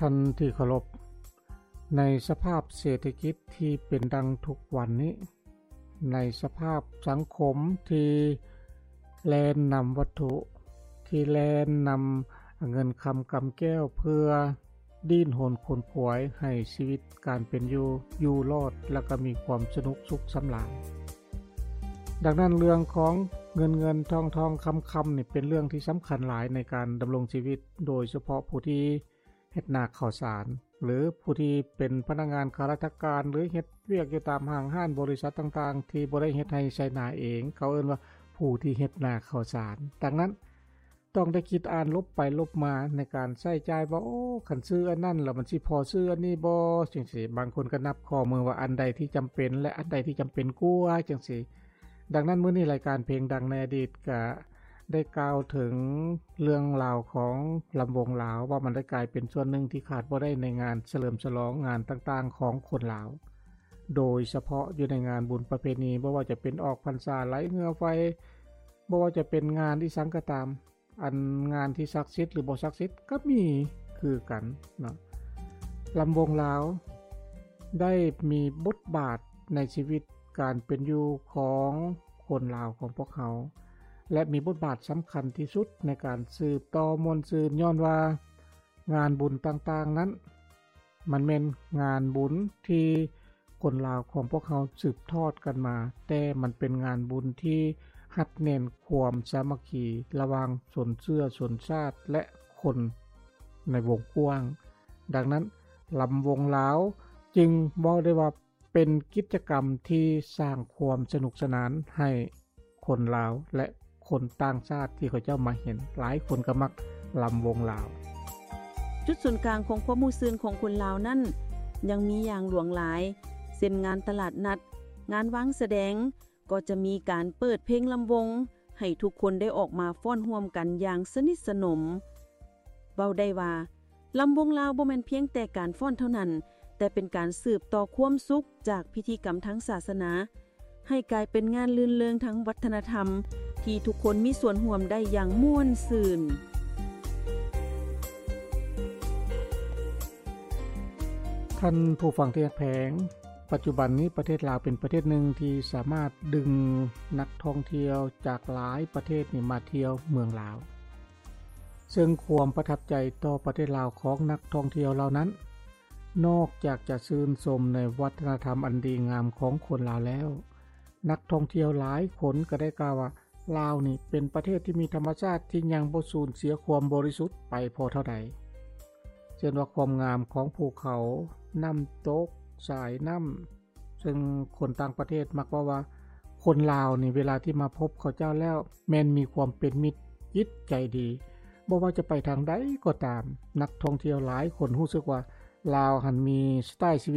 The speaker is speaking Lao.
ທ່ານທີ່ເຄົາລົບ, ໃນສະພາບເສດຖະກິດທີ່ເປັນດັ່ງທຸກວັນນີ້, ໃນສະພາບສັງຄົມທີ່ແລ່ນນຳວັດຖຸ, ທີ່ແລ່ນນຳເງິນຄຳກຳແກ້ວ ເພື່ອດີ້ນຮົນຂົນຂວາຍໃຫ້ຊີວິດການເປັນຢູ່ຢູ່ລອດ ແລະ ກໍມີຄວາມສະໜຸກສຸກສຳລານ. ດັ່ງນັ້ນ ເລື່ອງຂອງເງິນເງິນ ທອງທອງຄຳຄຳນີ້ ເປັນເລື່ອງທີ່ສຳຄັນຫຼາຍໃນການດຳລົງຊີວິດ, ໂດຍສະເພາະຜູ້ທີ່ ເຮັດນາເຂົ້າສານ ຫຼື ຜູ້ທີ່ເປັນພະນັກງານຂ້າລາຊະການ ຫຼື ເຮັດວຽກຢູ່ຕາມຫ້າງຮ້ານບໍລິສັດຕ່າງໆ ທີ່ບໍ່ໄດ້ເຮັດໄຮ່ໄຖນາເອງ, ເຂົາເອີ້ນວ່າຜູ້ທີ່ເຮັດນາເຂົ້າສານ. ດັ່ງນັ້ນ ຕ້ອງໄດ້ຄິດອ່ານລົບໄປລົບມາໃນການໃຊ້ຈ່າຍວ່າ ໂອ້ ຄັນຊື້ອັນນັ້ນລະມັນຊິພໍຊື້ອັນນີ້ບໍ່ ຈັ່ງຊີ້. ບາງຄົນກໍນັບຂໍ້ມືວ່າອັນໃດທີ່ຈຳເປັນ ແລະ ອັນໃດທີ່ຈຳເປັນກວ່າ ຈັ່ງຊີ້. ດັ່ງນັ້ນ ມື້ນີ້ລາຍການເພງດັງໃນອະດີດກະ ໄດ້ກ່າວເຖິງເລື່ອງລາວຂອງລຳວົງລາວ ວ່າມັນໄດ້ກາຍເປັນສ່ວນໜຶ່ງທີ່ຂາດບໍ່ໄດ້ໃນງານສະເຫຼີມສະຫຼອງງານຕ່າງໆຂອງຄົນລາວ, ໂດຍສະເພາະຢູ່ໃນງານບຸນປະເພນີ, ບໍ່ວ່າຈະເປັນອອກພັນສາ, ໄຫຼເຮືອໄຟ, ບໍ່ວ່າຈະເປັນງານອີ່ສັງກໍຕາມ, ອັນງານທີ່ສັກສິດ ຫຼື ບໍ່ສັກສິດກໍມີຄືກັນເນາະ. ລຳວົງລາວໄດ້ມີບົດບາດໃນຊີວິດ ການເປັນຢູ່ຂອງຄົນລາວຂອງພວກເຮົາ ແລະ ມີບົດບາດສຳຄັນທີ່ສຸດໃນການສືບຕໍ່ມ່ວນຊື່ນ, ຍ້ອນວ່າງານບຸນຕ່າງໆນັ້ນ ມັນແມ່ນງານບຸນທີ່ຄົນລາວຂອງພວກເຮົາສືບທອດກັນມາ, ແຕ່ມັນເປັນງານບຸນທີ່ຮັດແໜ້ນຄວາມສາມັກຄີລະຫວ່າງຊົນເຊື້ອຊົນຊາດ ແລະ ຄົນໃນວົງກວ້າງ. ດັ່ງນັ້ນ ລຳວົງລາວຈຶ່ງເວົ້າໄດ້ວ່າ ເປັນກິດຈະກຳທີ່ສ້າງຄວາມສະໜຸກສະໜານໃຫ້ຄົນລາວ ແລະ ຄົນຕ່າງຊາດທີ່ເຂົາເຈົ້າມາເຫັນ, ຫຼາຍຄົນກໍມັກລຳວົງລາວ. ຈຸດສູນກາງຂອງຄວາມມ່ວນຊື່ນຂອງຄົນລາວນັ້ນ ຍັງມີຢ່າງຫຼວງຫຼາຍ, ເຊັ່ນ ງານຕະຫຼາດນັດ, ງານວາງສະແດງ, ກໍຈະມີການເປີດເພງລຳວົງ ໃຫ້ທຸກຄົນໄດ້ອອກມາຟ້ອນຮ່ວມກັນຢ່າງສະໜິດສະໜົມ. ເວົ້າໄດ້ວ່າ ລຳວົງລາວບໍ່ແມ່ນພຽງແຕ່ການຟ້ອນເທົ່ານັ້ນ, ແຕ່ເປັນການສືບຕໍ່ຄວາມສຸກຈາກພິທີກຳທາງສາສະໜາ ໃຫ້ກາຍເປັນງານລື່ນເລີງທາງວັດທະນະທຳ ທີ່ທຸກຄົນມີສ່ວນຮ່ວມໄດ້ຢ່າງມ່ວນຊື່ນ. ທ່ານຜູ້ຟັງທີ່ຮັກແພງ, ປັດຈຸບັນນີ້ປະເທດລາວເປັນປະເທດໜຶ່ງທີ່ສາມາດດຶງນັກທ່ອງທ່ຽວຈາກຫຼາຍປະເທດນີ້ມາທ່ຽວເມືອງລາວ. ເຊິ່ງຄວາມປະທັບໃຈຕໍ່ປະເທດລາວຂອງນັກທ່ອງທ່ຽວເຫຼົ່ານັ້ນ, ນອກຈາກຈະຊື່ນຊົມໃນວັດທະນະທຳອັນດີງາມຂອງຄົນລາວແລ້ວ, ນັກທ່ອງທ່ຽວຫຼາຍຄົນກໍໄດ້ກ່າວວ່າ ລາວນີ້ເປັນປະເທດທີ່ມີທຳມະຊາດທີ່ຍັງບໍ່ສູນເສຍຄວາມບໍລິສຸດໄປພໍເທົ່າໃດ, ເຊັ່ນວ່າຄວາມງາມຂອງພູເຂົາ, ນ້ຳຕົກ, ສາຍນ້ຳ, ເຊິ່ງຄົນຕ່າງປະເທດມັກເວົ້າວ່າ ຄົນລາວນີ້ເວລາທີ່ມາພົບເຂົາເຈົ້າແລ້ວ ແມ່ນມີຄວາມເປັນມິດ, ຈິດໃຈດີ. ບໍ່ວ່າຈະໄປທາງໃດກໍຕາມ, ນັກທ່ອງທ່ຽວຫຼາຍຄົນຮູ້ສຶກວ່າ ລາວຫັ້ນມີສະໄຕລ໌ຊີວິດ